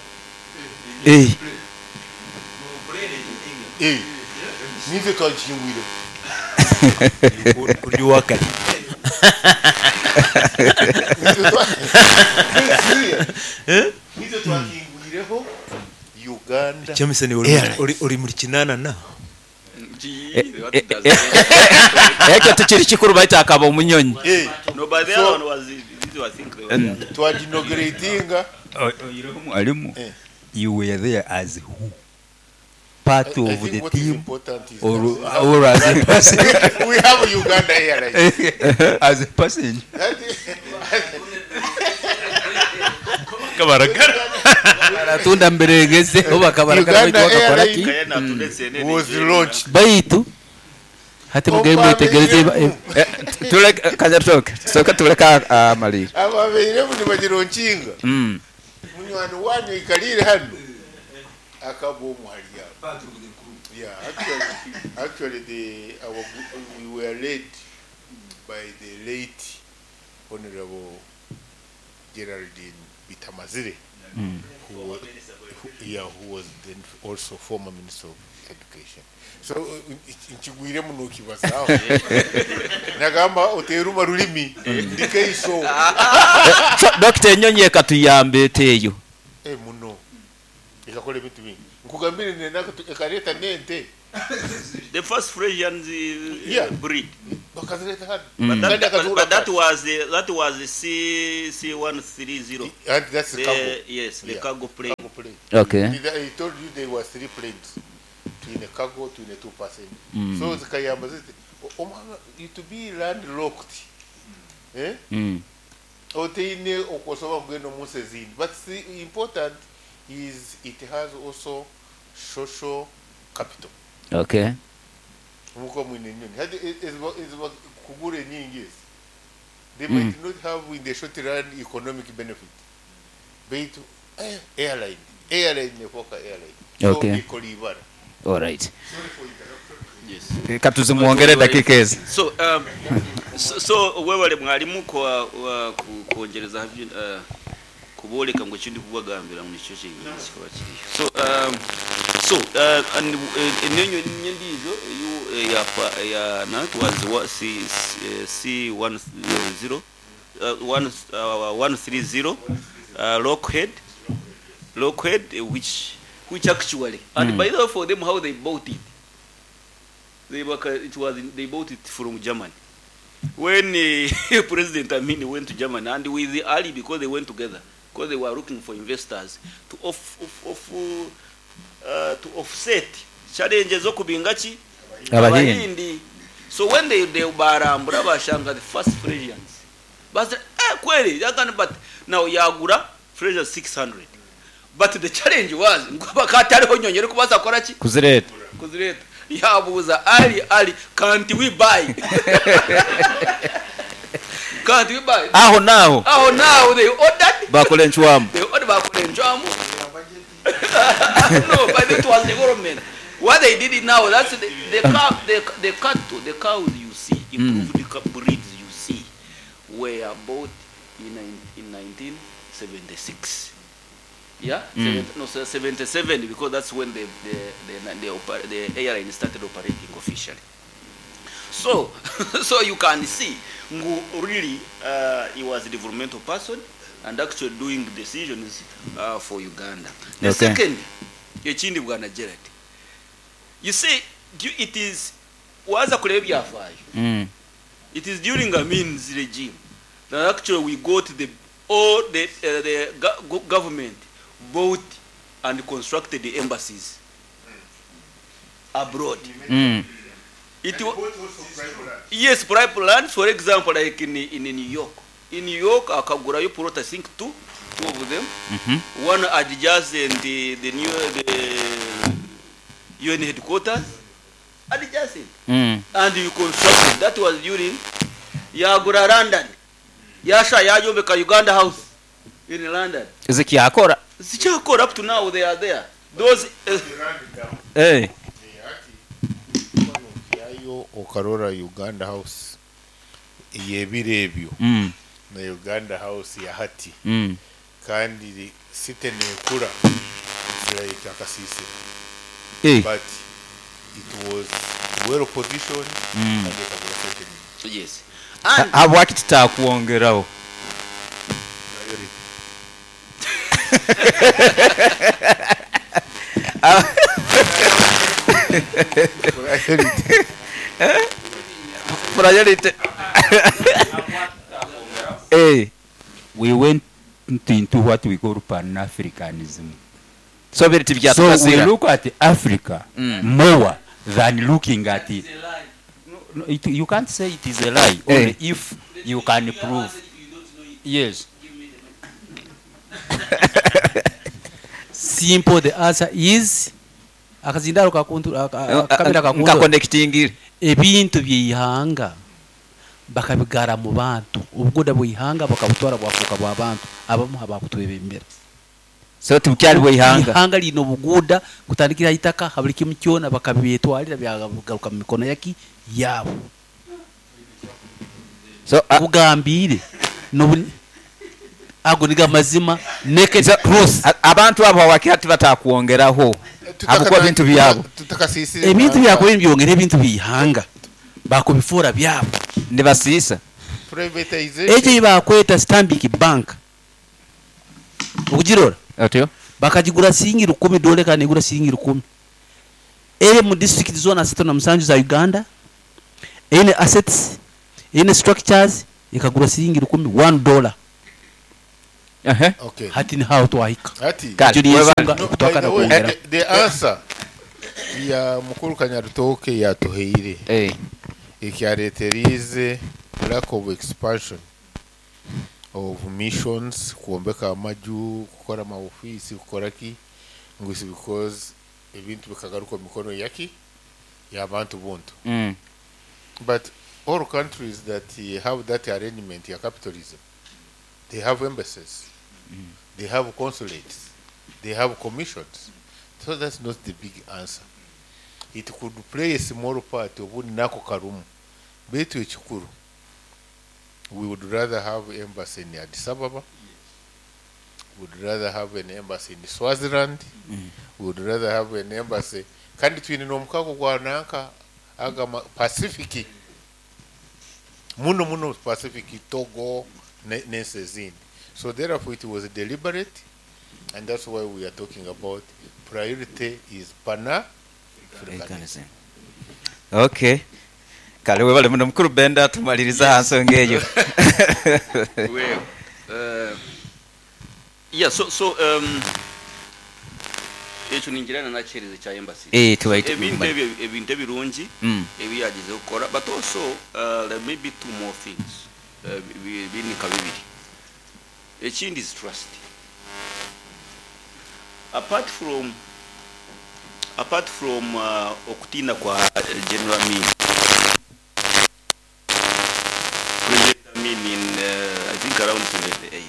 Eh. Eh. Nize twakingwire. Kuri wakati. Nize twakingwireho Uganda. Jameson uri muri kinana na. Ekyo tukiri kikuru baita akaba omunyonyi. No, but the other one was this was think they were. Twaginauguratinga. Mwalimu, you were there as who? Part of the team or as a person? We have Uganda Airlines. As a passenger. Baratunda mberegeze oba kabarakara Uganda bakora ki? Was launched. Baitu hati mugaye mwitegereze Tuleke kanyatoke. Soka tuleka amalira. Ababeire nibagironkinga. Munywani wanyu ikalire hano. Akabo muhaliya. Yeah, actually we were led by the late Honorable Geraldine Bitamazire. Who was then also former minister of education. So nkigwiremu nokibazaaho, nagamba oteruma rulimi ndikeiso. So dokita, enyonyi ekatuyamba eteeyo? Eh, muno ekakora ebintu bingi, nkugambire nenaka ekareta nente. The first Frisians breed. Bakazireta hano. But Kandi akazigura but that cash. was the, that was the C C130. And that's the cargo. Yes, the cargo plane. Cargo plane. Okay. He told you there were three planes. Twine cargo, twine two passenger. So zikayamba ziti omwana you to be landlocked. Eh? Oteine okosoba kugenda omunsi ezindi. But the important is it has also social capital. Muko mwine nyoni. Hadi eziba kugura enyingi ezi. They might not have in the short run economic benefit. Baitu airline nefoka airline. So ikora ibara. All right. Sorry for interruption. Yes. Katuzimwongere dakika ezi. So webale mwalimu kwa kwongereza kuboleka ngu ekindi kubagambira ngu nikyo kyenyini kikaba kiriyo. So and enenyo endiijo eyu ya ya na it was wa C C 10 1 130 Lockheed, which actually and by the way, for them, how they bought it, they were, it was in, they bought it from Germany when President Amin went to Germany and with the Ali, because they went together because they were looking for investors to offset challenges z'okubinga ki? Abahindi. Abahindi. So when they barambura bashanga the first Frisians, basi kweli yakani, but now yagura Frisians 600, but the challenge was ngo bakatariho nyonyi eri kubaasa kukora ki? Kuzireta. Kuzireta. Yabuuza Ali, "Ali, can't we buy, can't we buy?" Aho naaho. Aho now they ordered. Bakora encwamu. They ordered, bakora encwamu. No, but it was development what they did it now. That's the cow, the cattle, the cows you see, improved breeds you see were bought in 1976, yeah. No, so 77, because that's when the airline started operating officially. So you can see ngu really he was a developmental person and actually doing decisions for Uganda. The second, ekindi, bwana Gerard, you see, it is waza kureba ebyafaayo, it is during Amin's regime that actually we got the all the government bought and constructed the embassies abroad. Yes, private lands, for example, like in New York. In New York, akagurayo plot, I think two of them. One adjacent the new the UN headquarters, adjacent. And you constructed. That was during yagura London. Yasha yayombeka Uganda House in London. Zikyakora? Zikyakora up to now, they are there. Those Yayo okarora Uganda House yebiro ebyo na Uganda House ya hati, kandi city nekura, it's like akasisira, but it was well positioned and ekagura sente nyingi. Yes. And Habwaki tutakwongeraho? Priority. Priority. Priority. We went into what we call Pan-Africanism. So biri So we tibyatugasira. look at Africa more than looking at it. No, you can't say it is a lie. Only if you can prove. Yes. Simple, the answer is akazindaro kakuntu akamera kakuntu. Nkakonectingire. Ebintu byeihanga bakabigara mu bantu, obugoda bwihanga bakabutwara bwafuuka bwa bantu abamu habakutwebembera. So tibukyali bweihanga. Ihanga lino obuguda kutandikira itaka habuli kimu kyona bakabyetwalira byagaruka mu mikono yaki yaabo. So kugambire nobu Ago nigo amazima, naked truth. Abantu abo hawakira tibatakwongeraho habwokuba bintu byabo. Tutakasisire. Ebintu byakubire nibyongera ebintu by'ihanga bakubifura byabo. Nibasiisa. Privatization. Ekyo bakweta Stanbic Bank okugirora otyo bakagigura siringi 1000 dole kandi igura siringi 1000 eri mu district zone 37 za Uganda, eine assets, eine structures, ikagura siringi 1000, $1. Okay. Hati ni hao twahika. Hati. Kale, Ekyo niyo webale. ensonga No, by okutwakana the way, kwongera. the answer ya mukuru Kanyarutoke yatuheire ekyareterize lack of expansion of missions, kuombeka amaju, kukora amaofisi, kukora ki, ngu is because ebintu bikagaruka omu mikono yaki y'abantu buntu. But all countries that have that arrangement ya capitalism, they have embassies, they have consulates, they have commissions. So that's not the big answer. It could play a small part obundi nako karumu. Beitu ekikuru, we would rather have embassy in Addis Ababa, we would rather have an embassy in Swaziland, we would rather have an embassy. Kandi twine n'omukago gwa nanka agama Pacific, muno muno Pacific, Togo n'ensi ezindi. So therefore it was deliberate, and that's why we are talking about priority is Pan-Africanism. Okay. Kale webale muno mukuru Benda, tumaliriza ha nsonga eyo. Well, yeah, so ekyo ningirana nakihereza kya embassy. Tubaite Ebintu kumanya. ebyo, ebintu ebirungi ebiyagize kukora, but also there may be two more things. Binika bibiri. Ekindi is trust. Apart from okutina kwa General Amin, President Amin in I think around 78,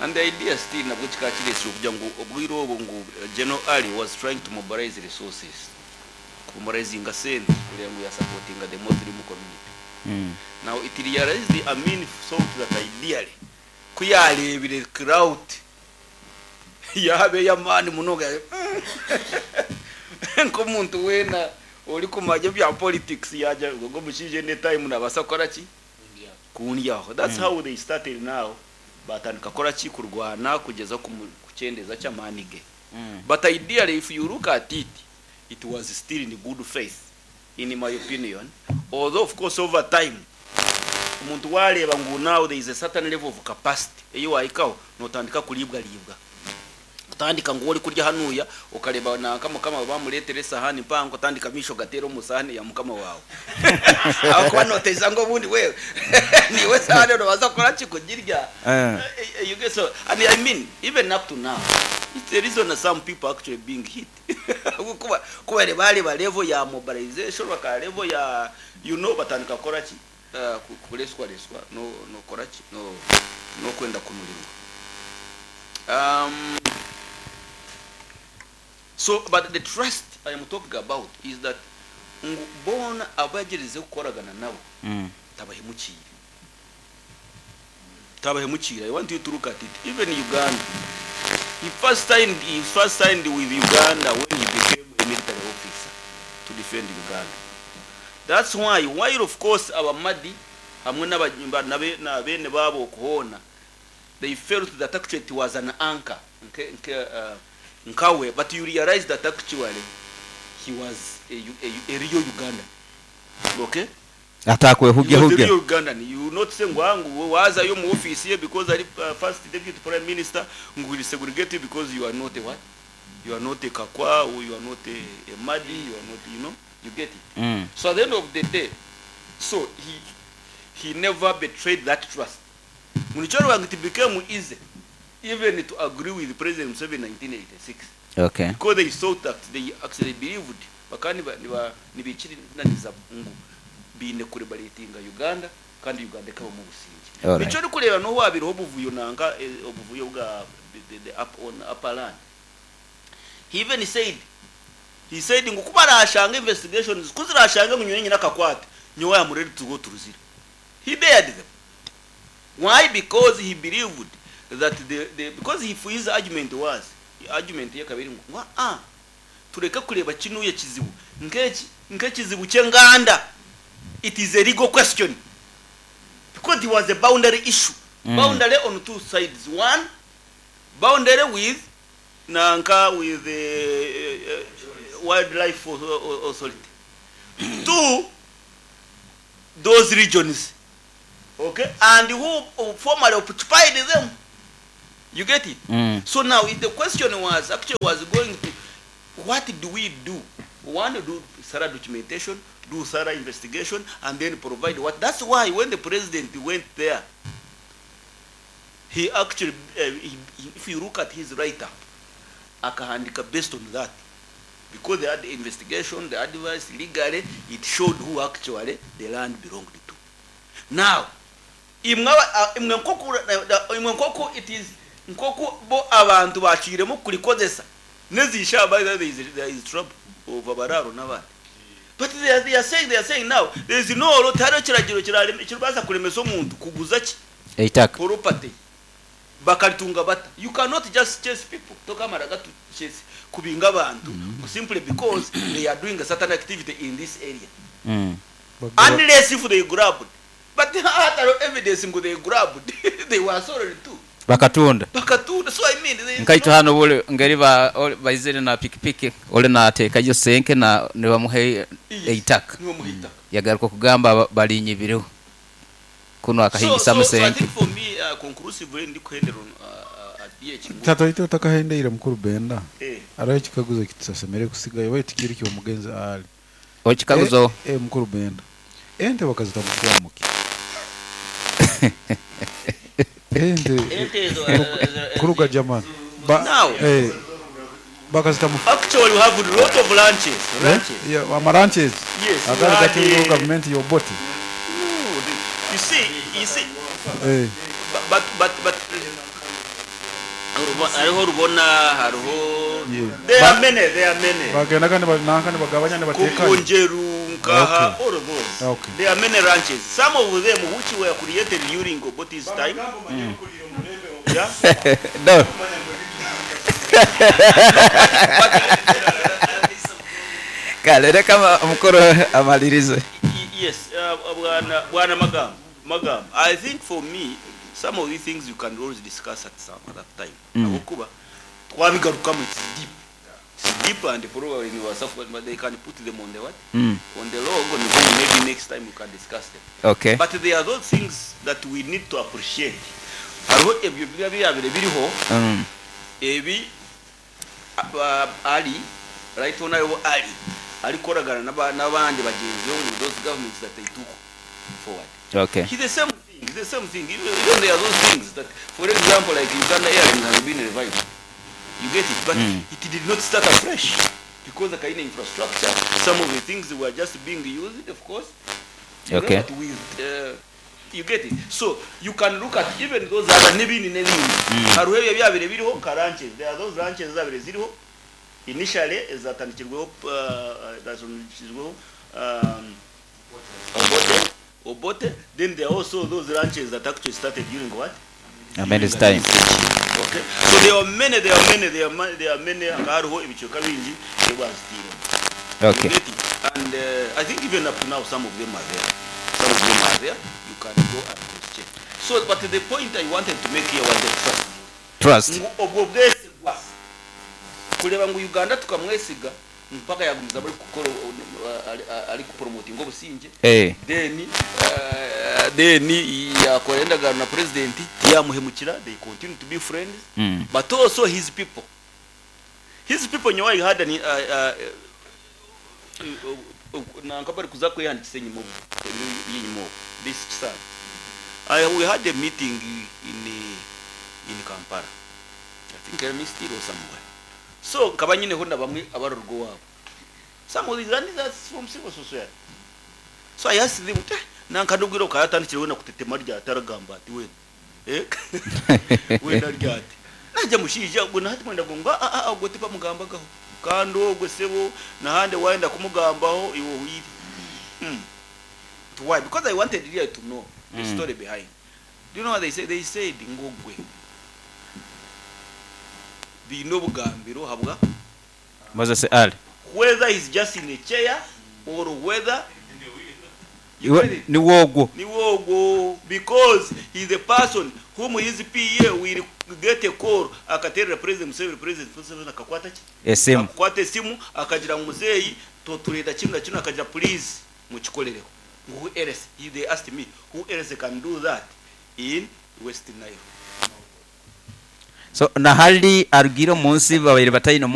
and the idea still nabwo kikakirese okugira ngu obwire obwo ngu General Ali was trying to mobilize resources, mobilizinga sente kugira ngu yasupportinga the Muslim community. Now it realized Amin thought that ideally kuyarebire crowd yabe yamani munoga nk'omuntu wena ori kumanya bya politics yaja ngo mushije ne time nabasa kora ki kundyaho. That's how they started. Now batandika kora ki kurwana kugeza kucendeza cy'amani ge. But ideally if you look at it, it was still in good faith in my opinion, although of course over time omuntu wareba ngu now there is a certain level of capacity eyo wahikaho notandika kulibwa libwa utandika ngo uri kurya hanuya ukareba na kama kama bamuretere sahani mpango utandika misho gatero musahani ya mukama wawe aho noteza ngo bundi wewe niwe sahani unabaza kora kikugirya. You get so, and I mean even up to now it's the reason that some people actually being hit kuba kuba bari ba level ya mobilization baka level ya batandika kora ki kureswa reswa no kora ki no kwenda kunurirwa. So but the trust I am talking about is that bona abagereze gukoragana nabo tabahemukiye. Tabahemukiye. I want you to look at it. Even Uganda, he first signed with Uganda when he became a military officer to defend Uganda. That's why while of course abamadi hamwe na bene babo kuhona, they felt that actually it was an anchor nkawe, but you realize that actually he was a real Ugandan. Okay? Atakwe He hugya was a hugya. real Ugandan. You will not say ngwangu waza yo mu office here because ari first deputy prime minister ngu will segregate you because you are not a what? You are not a Kakwa, or you are not a Madi, you are not, you get it. So at the end of the day, so he never betrayed that trust. Munichoro wangu it became easy even to agree with President Museveni in 1986. Because they thought that they actually believed bakani nibikiri naniza ngu bine kurebaletinga Uganda kandi Uganda ikaba mu businge. Nico uri kureba no wabiriho obuvuyo nanga obuvuyo bwa the up on upper land. He even said, he said ngo kuba arashanga investigations kuzirashanga ngo nyine nakakwate nyowe am ready to go to Ruzira. He dared them. Why? Because he believed That the because if his argument was, argument ye kabiri ngu tureke kureba kinuye kizibu nkeki nkekizibu ky'enganda. It is a legal question because it was a boundary issue. Boundary on two sides. One, boundary with nanka with the wildlife authority. Two, those regions, okay, and who formerly occupied them. You get it? So now if the question was actually was going to, what do we do? One, do thorough documentation, do thorough investigation, and then provide what. That's why when the president went there, he actually, if you look at his write-up, akahandika based on that. Because they had the investigation, the advice, legally, it showed who actually the land belonged to. Now, imwe nkoko it is nkoko bo abantu baciremo kulikozesa nezisha by the there is trouble over bararo n'abandi. But they are saying now there is no rotaro kiragiro kirbaza kulemesa omuntu kuguza ki eitaka property bakalitunga bata. You cannot just chase people tokamara gatu chase kubinga abantu simply because they are doing a certain activity in this area. Unless if they grabbed, but hataro evidence ngo they grabbed they were sorry too. Bakatunda. So I mean nkaito hano bole ngeri ba baizere na pikipiki ole na ateka yo senke na nibamuhe eitaka yagaruka kugamba balinyibireho kuno akahingisa musenke. So I think for me conclusively ndi kuhendera at Tata ito takahendeire mukuru Benda. Araho kikaguzo kitusasemere kusigayo baitu kiri kyo mugenzi ali. Okikaguzo mukuru Benda. Ente bakazita mukwamuki. Ente kuruga jamani. Now bakazita mu actually we have a lot of ranches. Yeah, amaranches. Yes. Agari gati government your body. No, you see. But hariho rubona hariho there are many. Bagenda kandi nanka bagabanya batekanye. Kunjeru nkaha all of those. Okay. There are many ranches. Some of them which were created during Obote's time. Yeah. No. Kale kama mukuru amalirize. Yes, bwana Magam. I think for me some of these things you can always discuss at some other time. Abukuba twabigarukamu, it's deep. It's deep and probably but they can put them on the what? On the log, and then maybe next time we can discuss them. Okay. But there are those things that we need to appreciate. Hariho ebyo byabire biriho. Ebi ali right on ali alikoragana n'abandi bagenzi bo mu those governments that they took forward. Okay. It's the same thing. The same thing. Even there are those things that, for example, like Uganda Airlines has been revived. You get it, but it did not start afresh because the kind of infrastructure, some of the things were just being used, of course. Okay. But with you get it. So you can look at even those other n'ibindi n'ibindi. Hariho byabire biriho nka ranches. There are those ranches zabire ziriho initially zatandikirweho Obote. Then there are also those ranches that actually started during what? Amin's time. Okay. So there are many. Hariho ibicoka bingi ebazitire. Okay. And I think even up to now some of them are there. Some of them are there. You can go and check. So, but the point I wanted to make here was the trust. Trust. Obwo bwesigwa. Kureba ngo Uganda tukamwesiga mpaka yagumiza bari gukora ari kupromotinga obusinge. Then yakora endagano na president yamuhemukira, they continue to be friends. But also his people. His people nyawa had an nankabari kuza kwehandikisa enyuma yenyuma this son. We had a meeting in Kampala. I think I missed it or somewhere. So kabanyine ho na bamwe abarurgo wabo. Some of these and that's from civil society. So I asked them, nankadugiro kayatandikire na kutetema rya taragamba ati we. We naryati. Najya mushija ubwo nahati mwenda gonga ubwo tipa mugambagaho. Kandi ogwe sebo nahande waenda kumugambaho iwo wiri. Why? Because I wanted really to know the story behind. Do you know what they say? They said ngogwe. Biine obugambiro habwa Moses Ali. Whether he's just in a chair or whether Iwe niwe ogwo. Niwe ogwo, because he's a person whom his PA will get a call, akaterera President Museveni, President Museveni akakwata ki? Esimu. Akakwata esimu, akagira ngu muzeeyi toturenda kinu na kinu, akagira please mukikolereho. Who else? They asked me who else can do that in West Nile. So nahali arugire omu nsi babaire bataine.